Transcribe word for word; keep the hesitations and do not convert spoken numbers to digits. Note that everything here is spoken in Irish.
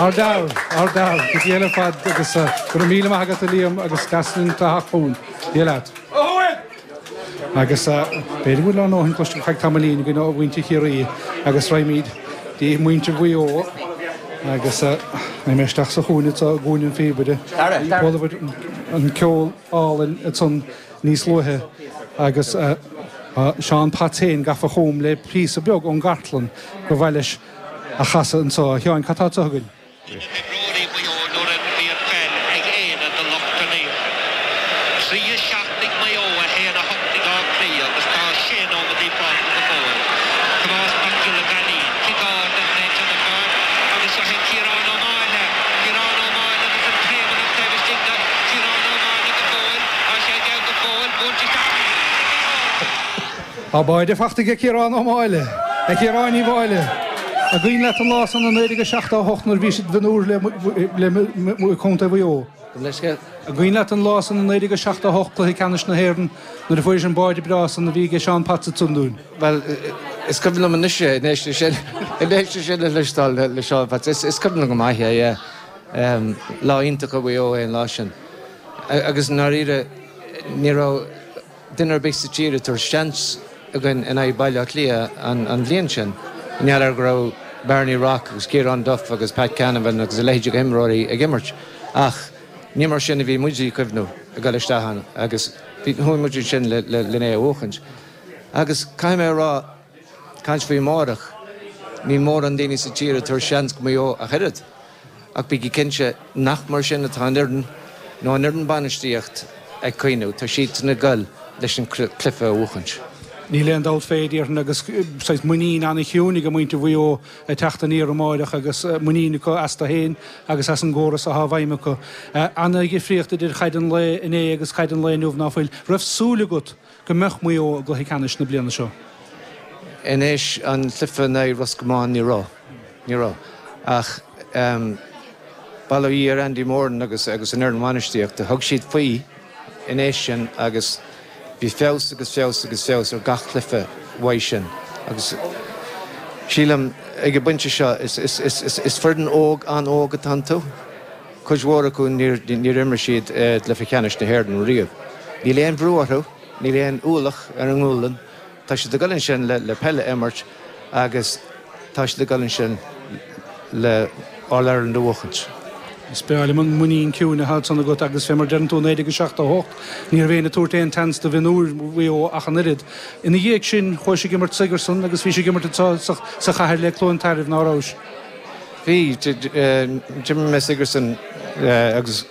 Ardal, ardal, go dtí ar fad agus go raibh míle maith agat, Liam, agus gasn taachún leat. Agus b'fhéidir bhfuil an óhin cloiste feadh tamaillín go mhuintir Chiarraí agus raghaimid dtí muintir Mhaigh Eo agus mé isteach sa chúinne sa gcúinne an phíobaire an ceol álainn ansan níos luaithe agus Seán Potts féin gafa chugam le píosa beag ón gcartlann gur mhaith leis a chasadh anseo. Sheáin, cad tá againn? Imreoirí Mhaigh Eo nuair a bhí an pheil ag éinne de lucht an Trí a seacht ag Maigh Eo, a haon a hocht ag Áth Cliath agus tá sé nóiméad fágtha go fóill. Tomás Mac Giolla Bheainín, ciceáil den léite an fear agus seo é Ciarán Ó Máille, Ciarán Ó Máille agus an Pléimeannach taobh istigh de Ciarán Ó Máille go fóill, tá sé aige go fóill, buailte isteach. Tá báide faighte ag Ciarán Ó Máille, ag Ciarán Uí Mháille. An cuimhin leat an lá san i naoi déag seachtó a hocht nuair bhí siad bhúr le le Contae Mhaigh Eo. An cuimhin leat an lá san i naoi déag seachtó a hocht, cluiche ceannais na hÉireann, nuair a fuair an báide breá san a bhí ag Seán Potts dúinn. Well, is cuimhin liom anois é sin sin le cloisteáil le Seán Potts is cuimhin go maith é lá iontach a bhí é an lá sin. Agus náíre ní raibh duine ar bith sa tír tar seans againn in aghaidh Baile Átha Cliath an bhliain sin. N'fheadar go raibh Barney Rock agus Ciarán Duff agus Pat Canavan agus a leithéid imreoirí ag imirt ach ní mar sin a bhí muid ag cuimhneamh ag dul isteach ann agus chuaigh muid sin le le é a bhuachaint. Agus caithfidh mé rá caint faoi amárach, ní mórán daoine sa tír tar seans go Maigh Eo ach oiread. Ach bí cinnte nach mar sin atá an fhoireann nó an fhoireann bainistíocht ag cuimhneamh, tá siad ag dul leis an cluiche a bhuachaint. Níl aon dabht fé déarfainn agus saghas muinín an-chiúin ag muintir Mhaigh Eo ag teacht aniar amárach agus muinín acu astu féin agus as an gcóras atá i bhfeidhm acu. An-difríocht idir chaid an lae inné agus caid an lae inniu, ná fuil? Raibh súil agat go mbeadh Maigh Eo i gcluiche ceannais na bliana seo? Inis an cluiche in aghaidh Ros Comáin, ní raibh ní raibh ach um, Bail ó Dhia ar Andy Moran agus agus an fhoireann bhainistíochta, thug siad faoi inis sin agus bhí feabhas agus feabhas agus feabhas ar gach cluiche uaidh sin agus sílim ag an bpointe seo is, is, is, is, is foireann óg an-óg atá iontu. Cuid mhór acu níor imir siad cluiche ceannais na hÉireann riamh. Níl aon bhrú orthu, níl aon ualach ar an ngualainn, tá siad ag dul ansin le, le peil a imirt agus tá siad ag dul ansin le All Ireland a bhuachaint. Is breá liom an muinín ciúin atá san agat agus fé mar deireann tú, naoi déag seachtó hocht, ní raibh éinne ag tabhairt aon tseans do mhionúir Mhaigh Eo ach an oiread. Ina dhiaidh sin chuaigh ag imirt Sigerson agus bhí sé ag imirt sa, sa chathair le Cluain Tairbh, ná raibh? Bhí, d'imir mé Sigerson agus